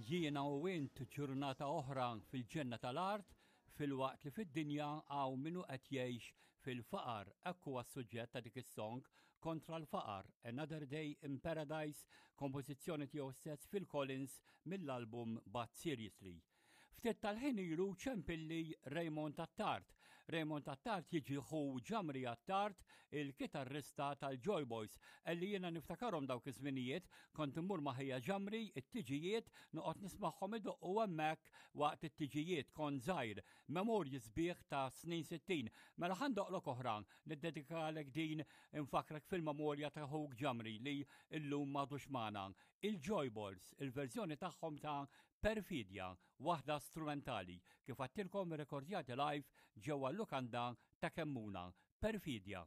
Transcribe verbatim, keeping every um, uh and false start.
Jiena u int ġurnata oħra fil-ġenna tal-art filwaqt li fid-dinja hawn min hu qed jgħix fil-faqar. Hekk huwa s-suġġett ta' dik is-song kontra l-faqar, Another Day in Paradise, kompożizzjoni tiegħu stess Phil Collins mill-album But Seriously. Ftit tal-ħin ilu ċempilli Raymond Attard. Raymond Attard jiġi ħu Ġamri Attard, il-kitarrista tal-Joy Boys, elli jiena niftakarhom dawk iż-żminijiet, kont immur ma' ħija Ġamri it-tiġijiet noqgħod nismagħhom idoqqu hemmhekk waqt it-tiġijiet kont żgħir, memorji sbieħ ta' snin sittin. Mela ħa ndoqqlok oħra, niddedikalek din infakrek fil-memorja ta' ħuk Ġamri li illum m'għadux magħna. Il-Joy Boys, il-verżjoni tagħhom ta' Perfidja, waħda strumentali, kif għedtilkom rekordjati live ġewwa l-lukanda ta' Kemmuna. Perfidja.